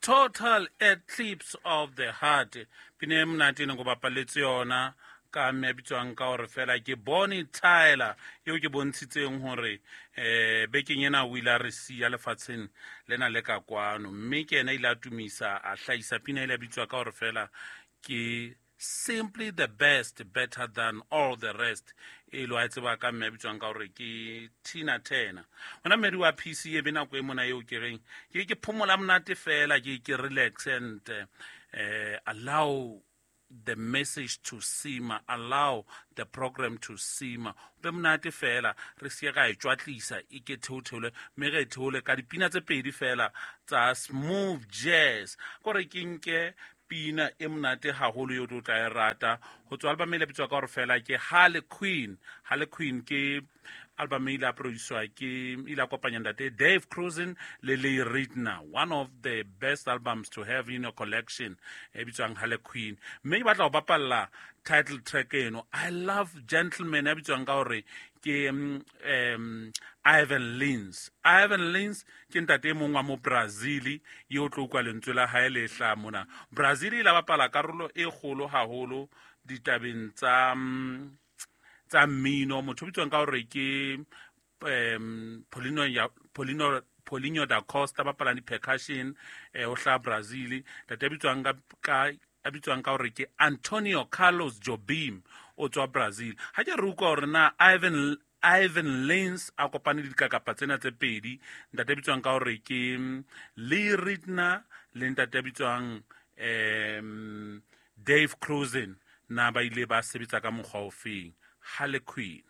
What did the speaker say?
Total Eclipse of the Heart. Pina e monate ne go bapaletse yona ka mme a bitswang ka gore fela ke Bonnie Tyler, eo ke bontshitseng gore bekeng ena o ile a re siya lefatsheng lena le ka kwano, mme ke ena ile a tumisa a hlahisa pina ile a bitswa ka gore fela ke Simply the Best, Better Than All the Rest, e lo a tseba ka mme a bitswang ka gore ke Tina Turner. Gona mmedi wa PC e be nako e mona eo ke reng ke phomola monate fela, ke relax and allow the message to simmer, allow the program to simmer. Be monate fela, re se ra e tšwatlisa e ke theotheole, mme re e theole ka dipina tse pedi fela tsa smooth jazz. Kore ke nke pina e monate haholo eo tlo tla e rata ho tswa album e le bitswa ka hore fela ke Harley Quinn. Harley Quinn ke album e ile a producer ke ile a kopanya ntate Dave Krusen le Lee Ritenour, one of the best albums to have in your collection e bitswang Harley Quinn. Mme ke batla ho bapalla title track eno, I Love Gentleman, ya bitswang ka hore ke Ivan Lins. Ivan Lins ke ntate e mong wa mo Brazil eo tlo utlwa lentswe la hae le hlaha mona. Brazil e la bapala karolo e kgolo haholo ditabeng tsa mmino. Motho o bitswang ka hore ke Paulinho da Costa, bapalang di-percussion, o hlaha Brazil. Ntate a bitswang ka a bitswang ka hore ke Antonio Carlos Jobim, o tswa Brazil. Ha ke re utlwa hore na Ivan Lins a kopane le dikakapa tsena tse pedi, ntate a bitswang ka hore ke Lee Ritenour le ntate a bitswang Dave Krusen, na ba ile ba sebetsa ka mokgwa ofeng. Harley Quinn.